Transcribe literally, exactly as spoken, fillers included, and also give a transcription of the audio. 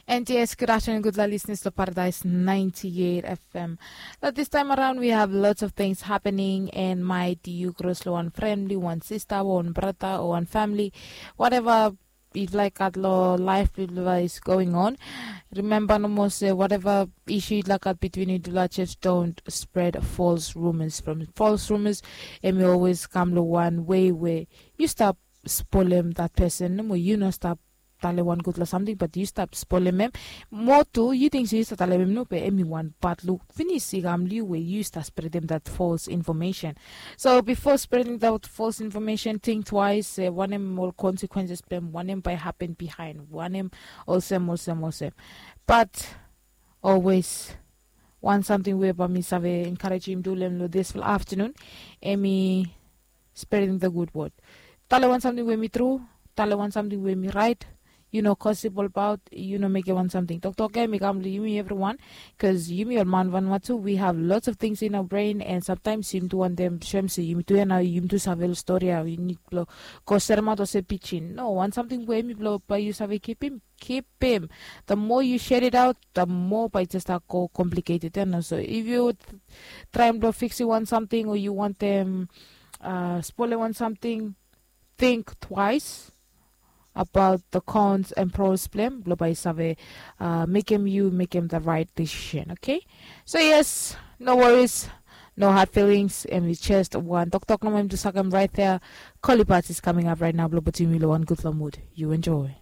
And yes, good afternoon, good luck listeners to Paradise ninety-eight F M. Now, this time around, we have lots of things happening, and might you cross lo one friendly, one sister, one brother, or one family, whatever you'd like at lo life is going on. Remember, no more say whatever issue you'd like at between you, do just don't spread false rumors. From false rumors, and we always come lo one way where you stop spoil him that person. No more, you no stop tale wan gudfala samting, but yu stap spolem em. Moa tu yu ting se yu stap talem em no, be em i wan bad luk finis i kam long yu we yu stap spredim dat false information. So bifo spredim dat false information, ting twaes se wanem ol consequences blong em, wanem bae hapen bihaen, wanem olsem olsem olsem. But always, wan samting we bae mi save encouragem yumi tu long dispela afternoon, em i spreading the good word. Tale wan samting we mi tru, tale wan samting we mi rait. Yu no gossip olbaot, yu no mekem wan samting toktok ya mi kam long yumi evriwan. Bikos yumi ol man vanua tu, we have lots of things in our brain, and sometimes yumi tu wantem soem se yumi tu ya nao, yumi tu save ol stori ya, yu nid blong go seremaot olsem pijin. No, wan samting we em i blong bae yu save kipim, kipim. The more you share it out, the more bae i just start go complicated ya nao. So if you traem blong fiksim wan samting o yu wantem uh, spolem wan samting, think twice about the cons and pros blong em blong bae i save uh, mekem yu mekem the right decision, okay? So yes, no worries, no hard feelings, and it's just wan toktok nomo em tu sakem right there. Kolibat is coming up right now blong putum yu long wan gudfala mood. You enjoy.